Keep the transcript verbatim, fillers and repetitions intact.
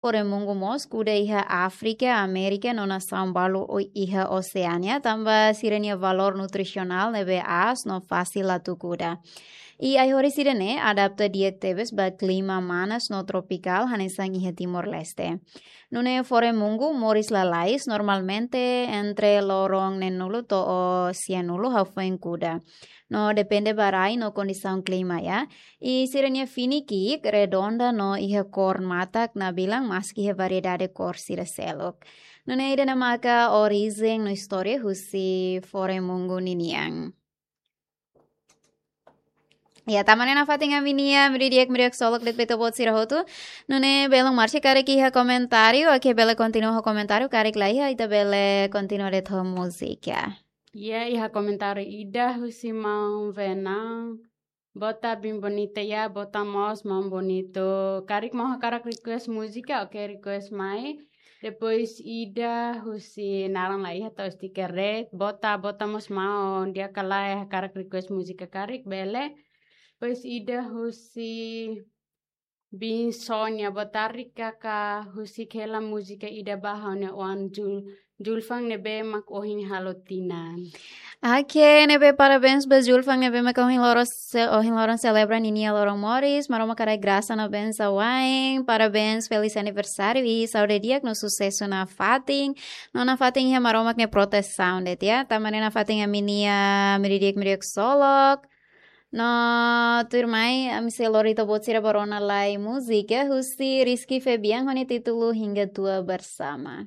Foremungu mós kuda iha Áfrika, Amérika no nasaun balu iha Oseania, tanba sira-nia valór nutrisionál ne'ebé aas no fasil atu kuda. I ai-horis ida-ne'e adapta di'ak tebes ba klima manas no tropikál hanesan iha Timor-Leste. Nune'e foremungu moris lalais normalmente entre loron neenulu to'o sianulu hafoin kuda. No depende ba rai no kondisaun klima, ya. I sira-nia fini ki'ik redonda no iha kór matak nabilan maski iha variedade kór sira seluk. Nune'e ida-ne'e maka orijen no istória husi foremungu ninian. Ya, tanba ne'e nafatin ami-nia meiudia di'ak, meiudia ksolok de'it ba ita-boot sira hotu. Nune'e belun Marcia karik iha komentáriu, oke, bele kontinua ho komentáriu, karik la iha ita bele kontinua de'it ho múzika. Ya, iha komentáriu ida husi maun Venang. Boot, bem bonita ya, boot mós maun Bonito. Karik maun hakarak request múzika, oke, request mai. Depois ida husi naran la iha, to'o stiker de'it. Boot, boot mós maun, di'ak ka lae, hakarak request múzika karik, bele. Depois ida husi Bin Sonia, boot, karik ka husik hela múzika ida ba ha'u-nia oan Jul, Julfan ne'ebé mak ohin halo tinan. Oke, ne'ebé parabéns ba Julfan ne'ebé mak ohin loron se-, ohin loron selebra ninia loron moris, Maromak haraik grasa no bensaun wa'in, parabéns, feliz aniversáriu i saúde di'ak no susesu nafatin, no nafatin iha Maromak nia protesaun de'it ya, tanba ne'e nafatin ami-nia meiudia di'ak, meiudia ksolok. No tuirmai, ami sei lori ita-boot sira ba rona lai múzika husi Rizky Febian ho nia títulu Hingga Tua Bersama.